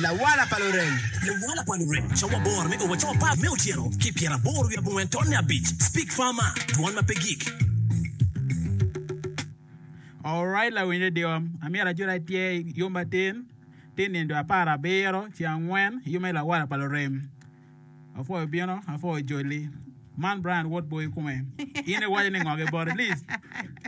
Lawala pa lurem. Lawala pa lurem, cawa aboro me o wa cawa apar me otyeno ki pyeraboro wiye abongwen tonne abic. Speak Farmer, Dwon ma pe gik. Alright lawiny radio, amyero ajol atye yom atin, tin nino dwe aparabiro ceng angwen yom me lawala pa lurem. Apwoyo bino, apwoyo joli. Man Brian wod boi kome. In iwaco ni ngo ki bote? Liz,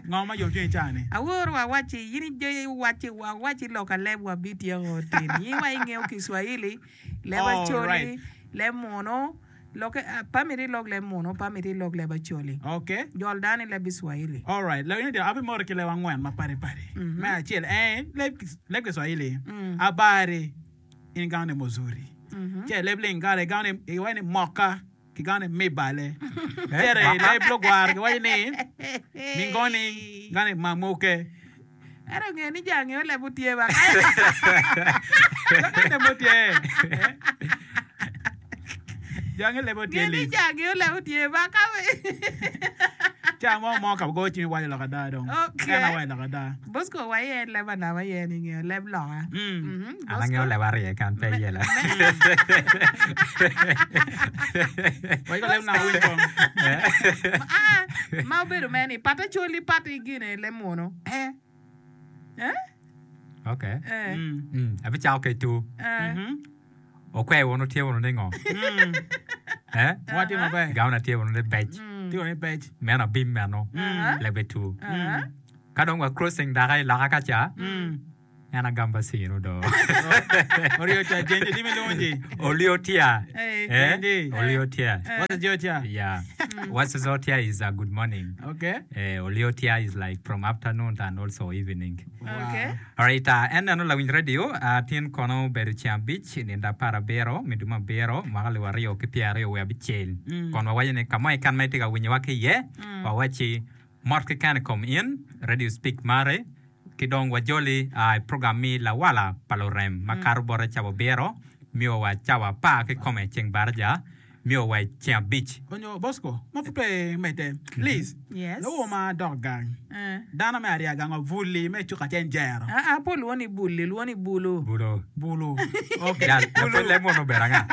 ngo ma yom cwinyi i caa ni? Awor wa wacci, in iwacci wacci lok aleb wa bityeko tin. In wa ingeyo Kiswahili, leb Acholi, leb Munu, lokke pe miti ilok leb Munu, pe miti ilok leb Acholi. Okay. Jol dano i leb Kiswahili. Alright, lawiny odiro abimoro ki leb angwen mapadi padi. Me acel en leb Kiswahili, abari. In igamo ni muzuri. Ci i leb Lingala igamo ni iwaco ni moka ki gamo ni mibale. Cito i leb Lugwara giwaco ni mingoni gamo ni mamuke. Ento nge ni jo angeyo leb otye ba. Leb otye. Jo angeyo leb otye Nge ni lic. jo angeyo leb otye ba ka Ca mo mo ka goyo cim iwaco lok ada dong. Okay. En awaco lok ada. Bosco wa iye leb anama iye ni ngeyo leb loka. Mm. Mhm, An angeyo Bosco. leb arye kan pe Me- iyela. Waco leb naka winyo kong. Ah, ma obedo mere ni pat acoli pat i gine leb munu. Eh. Eh? Okay. Eh. Mm. Mm, abicako ki tu. Eh. Mhm. Okwer wunu tye wunu ni ngo? Mm. Eh? Wa tye maber. Gawuna tye wunu ni bec. Tye wunu ni bec. Meno abim meno. Mm. Lebe tu. Ah. Ka dong wa crossing daka i loka ka ca, Mm. en agamba sinu do. Oryo tia jenji dimi lungi. Olio tia. Eh. Eh? Jenji. Olio tia. What's the jotia? Yeah. What's the tia is a good morning. Okay. Eh, olio tia is like from afternoon and also evening. Okay. Alright, uh, en neno lawiny radio, uh, tin kono obedo ceng abic, nindo aparabiro, me dwe me abiro, mwaka alip aryo ki pyeraryo wiye abicel. Mm. Kon wawaco ni ka mo keken ma itye ka winyowa ki iye, wawacci mot keken i kom in, Radio Speak mari, ki dong wajoli uh, i program mi Lawala pa Lurem ma kato bote cawa abiro, mio wa cawa apar kikome ceng baraja. Nio wa i ceng abic. Onyo Bosco, ma pud pe imedde. Liz, Yes. Lowo ma adok gang. Eh. Dano me arya gang wa buli me cuk acen jero. Ah, ah, pe olwongo ni buli, olwongo ni bulu. Bulu. Bulu. Okay. Jal, Bulu. lapwony leb mono obedo anga?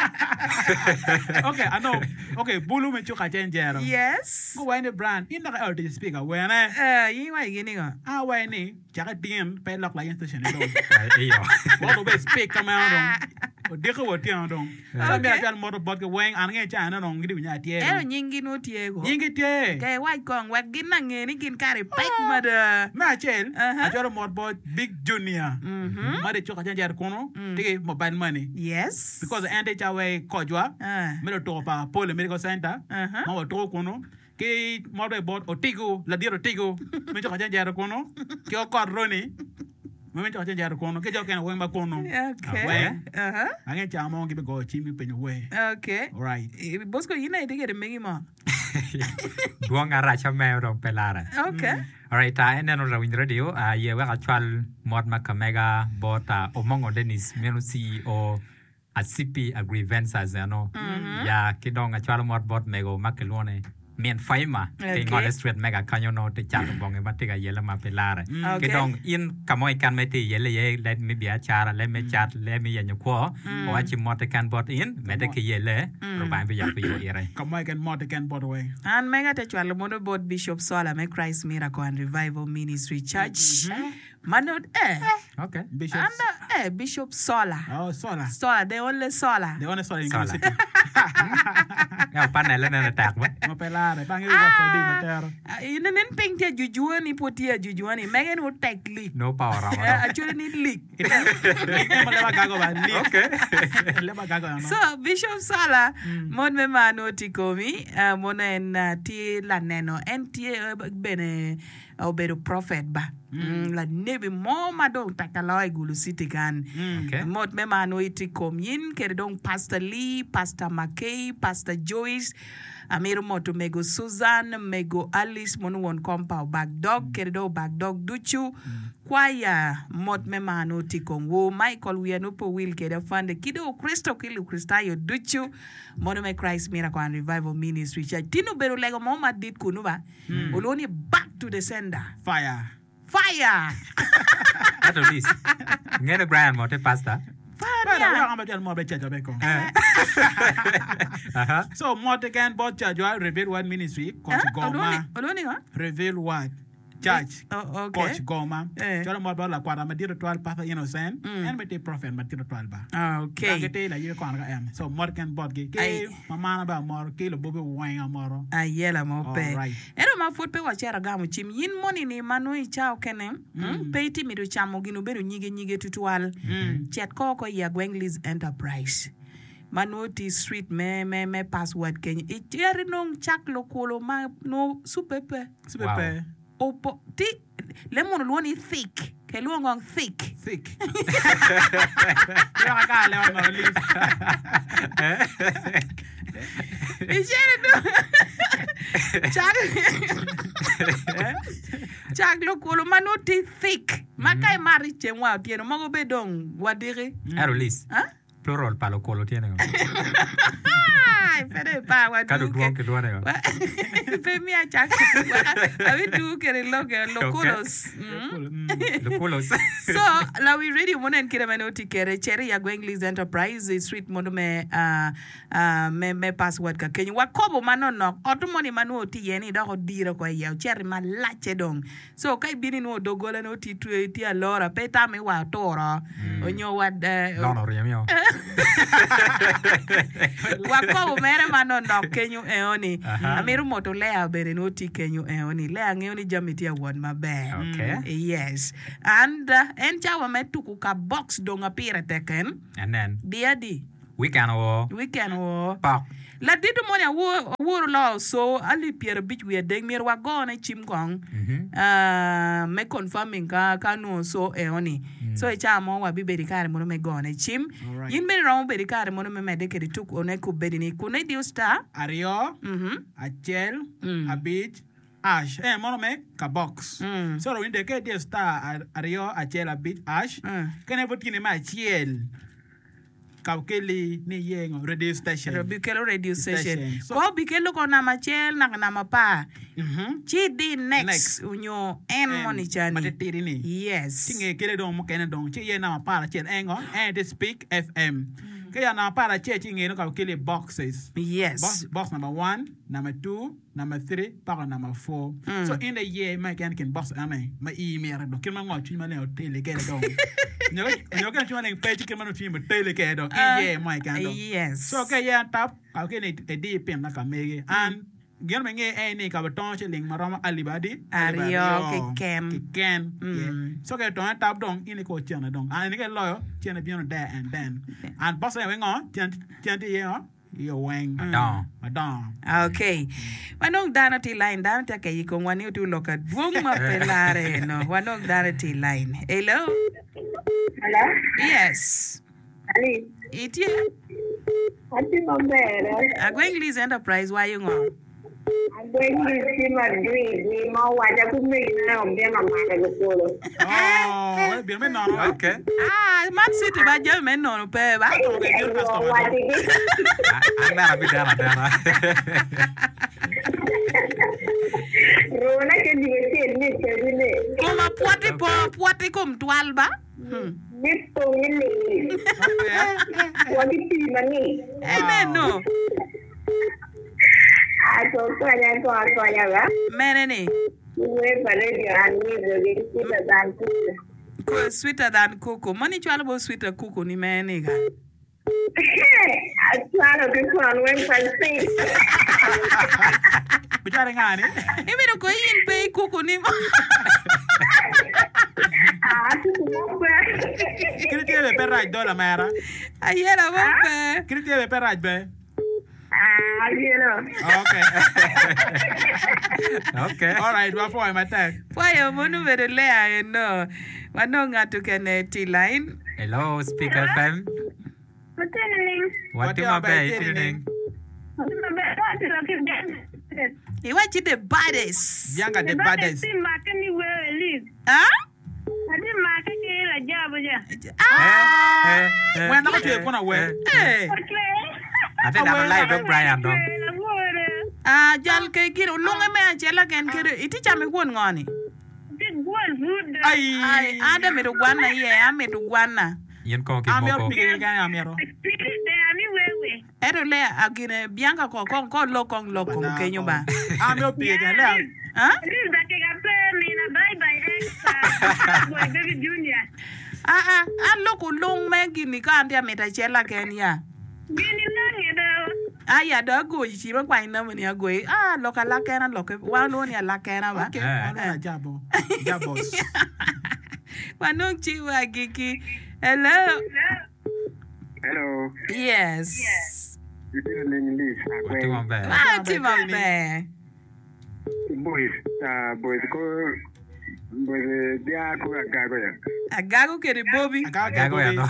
Okay, ano. Okay, bulu me cuk acen jero. Yes. Guwaco ni Brian, in dok iolo tic i speaker wene? Eh, in iwaco gin ningo? Awaco ni, Cake tin pe ilok lain station ni dong. Iyo. Wek obed speak ka meno dong. Odiko wa otyeno dong. So myero acwal moto botgi weng an angeyo ca eno dong gitye winyo atye Ento dong. nyinggi nongo tye ko. Nyinggi tye. Ke iwac kong wek gin ange ni gin kare pek mada. Me acel, Aha. acwalo mot bot Big Junior ma tye cuk acen cito kunu tye ki mobile money. Yes. Because en tye ca wai kocwa Ah. me lutuko pa Poly Medical Center Aha. ma watuko kunu. Ki mot bene bot Otigo, ladit Otigo me coko cen cito kunu, ki Okot Roni ma me coko cen cito kunu, ki jo okene weng ma kunu. Okay. Weng. Uh-huh. Ange ca mo gibigoyo cim gipenyo wer. Okay. Right. Eh, Bosco, in aye itye kwede megi mo? Dwong arac ameo dong pe larre. Okay. Alright, uh, en neno lawiny radio, uh, ye wek acwal mot ma kamega bot uh, Omongo Dennis, meno CEO Acipi Agriventure eno ya ki dong acwalo mot bot mego ma kilwongo ni Min Faima ki ngole street mega kanyo nongo tye cato bongi ma tye ka yelle ma pe lare. Ki dong in ka mo keken ma itye yelle iye leb me biacara, leb me cat, leb me yenyo kwo, wawacci mot keken bot in, medde ki yelle, Lubanga biyabo yo ire. Ka mo keken mot keken bot weng. An mega ate cwalo mono bot Bishop Sola me Christ Miracle and Revival Ministry Church. Ma nongo eh. Okay. Bishop. An dong eh Bishop Sola. Oh, Sola. Sola, the only Sola. The only Sola in Sola. Gulu City. Ento panele nene tek ba. Ma pe lare, bange wi wot adi ma tero. Ah, in nen piny tye ajujua ni pwod tye ajujua ni mege ni otek lik. No power romo Eh, dong. actually ni lik. Lik ma leba gago ba, lik. Okay. Leba gago ano. So, Bishop Sola, mon me mar nongo tye i komi, ah, mono en ah, tye laneno, en tye eh, bene obedo prophet ba lanebi mo ma dong tek aloyo i Gulu City kan. Okay. Mot me mar nongo itye i kom yin kede dong Pastor Lee, Pastor Makey, Pastor Joyce, amito moto mego Susan, mego Alice mono won kom pa Obak Dog kede dong Obak Dog ducu. Kwaya mot me mar nongo tye i komwu. Michael wiya nongo pe owil kede afande ki dong Okristo ki Lukricitayo ducu mono me Christ Miracle and Revival Ministry Church. Tin obedo lego mo madit kunu ba. Olwongo ni back to the sender. Fire. Fire! Ento Liz, ingeyo ni Brian mo tye pastor? Pe dok wek an bene acwal mot bene cacwa bene kong. So mot keken bot cacwa Reveal Word Ministry Koc Goma. Reveal Word Church Koc Goma. Cwalo mot bot lakwata madit tutwal Pastor Innocent. En bene tye prophet madit tutwal ba. Dok gitye layebi kono ka en. So mot keken botgi. Ki mamana bene amoro ki lubobi weng amoro. Ayela mo pe. Ento ma pud pe wacito agamo cim, in moni-ni ma nongo i cawa okene pe itye mito camo gin obedo nyige nyige tutwal, cet ko oko i Agweng Lease Enterprise ma nongo tye i street me me me Password kenyo. Icito inong cak lukulu ma nongo cuppe pe. Cuppe pe. Opo ti leb munu lwongo ni thick. Ke lwongo ngong thick. Thick. Lwaka ka lewa ma olive. Icito inong cak Cak lukulu ma nongo tye thick ma ka imato i ceng wa otyeno mogo bene dong wadiki. Ento Liz, plural pa lukulu tye ningo? Pe dong ipar wa Ka dong dwong kilwongo ningo? Pe miya cak abidugo kede lok eno lukulos. Lukulos. So lawi radio mono en kite ma nongo tye kede cit i Agweng Liz Enterprise i street mono me me me password ka kenyo wa kobo manonok otto moni ma nongo tye iye ni dok odiro oko iye ocito malacce dong so ka ibino inwongo doggola nongo tye twe tye alora pe itamo ni wa oturo onyo wa Lono oryemio. wa kobo mere manonok kenyo eoni Aha. amito moto Lea bene nongo tye kenyo eoni Lea ngeyo ni jami tye awot maber Okay. yes and en cawa me tuku ka box dong apire tek en Anen. di adi Weekend oo. Weekend oo. Pok. Ladito moni awor oloo so alip pyerabic wiye adek myero wagone cim kong me confirming ka ka nongo so eo ni. So i cawa mo wabibedo i kare mono me gone cim. In bene iromo bedo i kare mono me medde kede tuk one kubedi ni kun idiyo star. Aryo, acel, abic, ash. En mono me ka box. So rawinyo dek ka idiyo star aryo, acel, abic, ash. Kene pud tye ni me acel. Ka okelli ni iye ngo? Radio station. Bikelo radio station. Station. So- Ko bikelo ko namba acel naka namba apar. Ci idi next Next. onyo en En moni cani. matitidi ni. Yes. Ci nge kele dong mukene dong ci iye namba 11 en ngo? En tye Speak FM. Ka ya namba 11 ci nge nongo ka okeli boxes. Yes. Box, box number 1, number 2, Namba three paka namba four. So in dong iye ma keken kin box ene ma ii mito dong kit ma ngo cwiny maleng oteli kede dong. Nyo nyo kit ma cwiny maleng pe ci kit ma nongo cwinyi oteli kede dong in iye mo keken dong. Yes. So ka iye atap ka ki ni idi pin ma ka megi an gin ma inge en ni ka bitongo ciling ma romo alip adi? Alip Aryo keken. Keken. Yeah. So ka itongo atap dong in iko cene dong. An in ka iloyo cene bino there and then. And box ene ngo cen cen tye iye ngo? Iyo weng Madongo. madongo. Ok. Wanong dano tye i line. Dano tye ka keyo i komwa ni otye olok adwong ma pe lare eno. Wanong dano tye i line. Hello. Hello? Yes. Ali, Itye? atye maber. Agweng Liz Enterprise wayo ngo? Agweng Liz tye madwir dwir ma owaca ki omegina ni obino omako lukolo. Oh, wek bino me nono. Okay. Ah, man city ba jami me nono pe ba. Owacigi. An bene abideno adena. Rona ke dwe acel me kadi ni. Koma pwoti po pwoti kom twal ba. Mi pong i ling. Wa ki pii mangic. Eneno. Ato konya ko akonya ba. Mene ni? Wer pa radio an wizo gi sweeter than kuku. Ko sweeter than kuku. Moni cwalo bo sweeter kuku ni mene ni ga? Acwalo ki kwon weng pa sing. Bicwalo nga ni? Imito ko in pe i kuku ni mo. Ah, kuku mo pe. Kiti tye be pe rac dola mera. Ayela mo pe. Kiti tye be pe rac be. Ah, ayelo. Okay. Okay. All right, wapwoyo matek. Pwoyo mono obedo lea eno. Wanong ngat okene tye i line. Hello, Speak FM. Watye nining? Watye maber, itye nining? Watye maber. Watye ki Bianca. Iwacci the baddest. Bianca the baddest. Atye make ni weo Elise. Ah? Atye make ki Rajab ja. Ah! Wen dok ocwe kun awer. Eh. Ocwe. Atye dano live dog Brian dong. Lawore. Ah, jal ke gin olunge me acela ken kede itye camo i kwon ngo ni? Atye gwal pud. Ai, an dong amito gwanna iye, amito gwanna. In kong ki An mito moko. pigi keken amito. Pigi ber ami wewe. Ento Lea a gine Bianca ko kong ko lok kong lok kom kenyo ba. An amito pigi keken Lea. Ah? Liz dakika pe mina bye bye ex boy baby junior. Ah ah an lok olung me gini ka an tye amito acel aken ya. Gini nange do. Aya dong agoyi cim akwany namba ni agoyi ah lok alakena lokke wan walwongo ni alakena ba. Okay, wan walwongo ajabo. Jabos. Wanong cim wa agikki. Hello. Hello. Yes. Itye nining Liz? Watye Agweng. maber. Ah, tye maber. Boys, ah, boys ko boys dia ko agago ya. Agago kede Bobby. Agago kede Agago ya Bobby. no.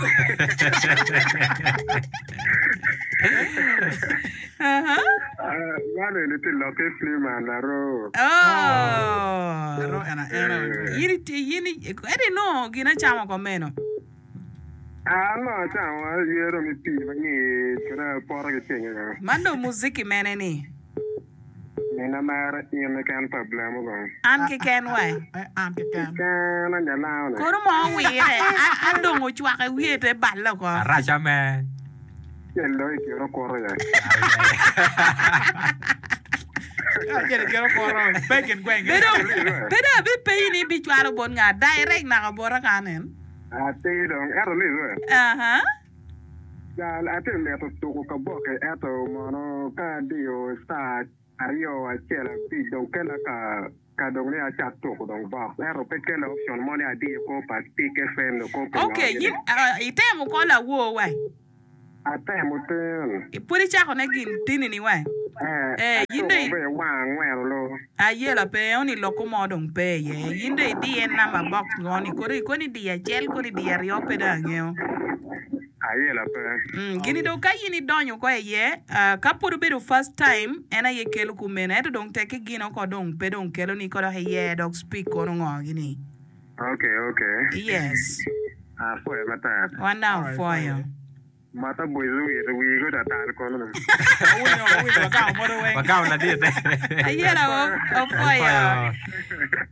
Uh-huh. Ah, mano eni tye lokke Freeman aro. Oh. Aro ena ena. Yin iti yin edi no gin acamo ko meno. An ma acamo ayero mi pii ma ngic kede apoto ki cinga. Man dong muziki mene ni? Mina mara in keken pa blemo kong. An keken wa. An keken. Keken anya lao ne. Kono mo owire adong ocwake wiye te balle oko. Araca me. Cel dong i kin okuto ya. Acel i kin okuto pe i kin gweng. Pe dong abipenyi ni ibicwalo bot nga direct naka bota kan en. Atir dong, ento Liz we. Aha. Jal, atye mito tuku kaboke ento mono ka adiyo star aryo acel abic dong kela ka ka dong ni acak tuku dong bok ento pe kela option mo ni adiyo kor pa Pick FM nyo kor pi ngo Okay, gini. yin itemo ko lawor wai? Atemo tin. Pwod icako ne gin tini ni wai? Eh, Eh, yin dong atuko be wang angwen olu. Ayela pe eno ni lokko mo dong pe iye. Yin dong idiye namba bok ngo ni kodi koni idiyo acel koni idiyo aryo pe dong angeyo. Ayela pe. Mm, gini dong ka yin idonyo ko iye, ah, ka pwod obedo first time en aye kelo kumeno ento dong tek ki gino ko dong pe dong kelo ni ko dok iye dok speak kono ngo gini. Okay, okay. Yes. Apwoyo matek. Wan dong apwoyo. Mata boys owito wii go tatal kono ni. Wawinyo, wawinyo, wagamo moto weng. Wagamo ladit. Ayela opwoyo.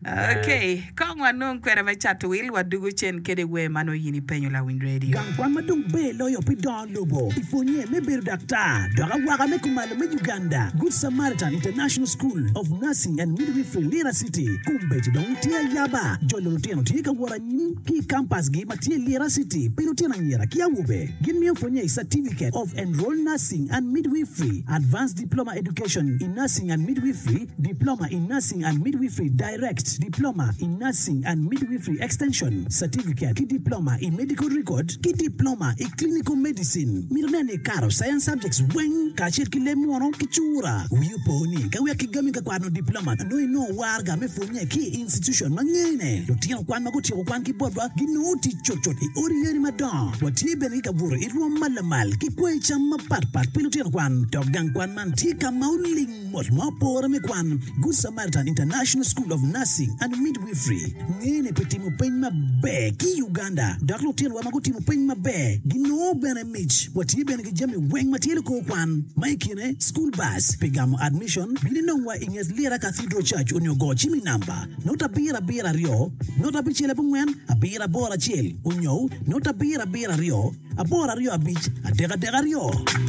Okay, kong wanong kwena me cato wil wadugo cen kede wer ma nongo in ipenyo lawiny radio. Gang kwan ma dong ber loyo pi dongo lobo i pwonye me bedo daktar dok awaka me kumalo me Uganda, Good Samaritan International School of Nursing and Midwifery Lira City kombeddi dong tye ayaba. Jolo lutino tye ka wot anyim ki i kampasgi ma tye i Lira City pi lutino anyira ki awobe. Gin miyo pwonye i Certificate of Enrolled Nursing and Midwifery, Advanced Diploma Education in Nursing and Midwifery, Diploma in Nursing and Midwifery Direct, Diploma in Nursing and Midwifery Extension, Certificate ki Diploma i Medical Record, ki Diploma i Clinical Medicine. Mito nen ni ikato Science Subjects weng kacel ki leb munu ki cura. Wi opo ni ka wek kigami ka kwano diploma nongo inongo waraga me pwonye ki i institution ma ngene. Lutino kwan ma gutyeko kwan ki botwa ginongo tic cutcut i odi yadi madongo. Watye bene ki kabuto i rwom ma lamal ki kweyo cam mapat pat pi lutino kwan. Dok gang kwan man tye ka ma oling mot ma opore me kwan. Good Samaritan International School of Nursing and Midwifery ngene pi timo peny maber ki i Uganda dok lutinowa ma gutimo peny maber ginongo bene mic. Watye bene ki jami weng ma tye likor kwan ma i kine school bus pi gamo admission. Bin inongwa i nget Lira Cathedral Church onyo go cim i namba 0772 064 881 onyo 0772 825 332.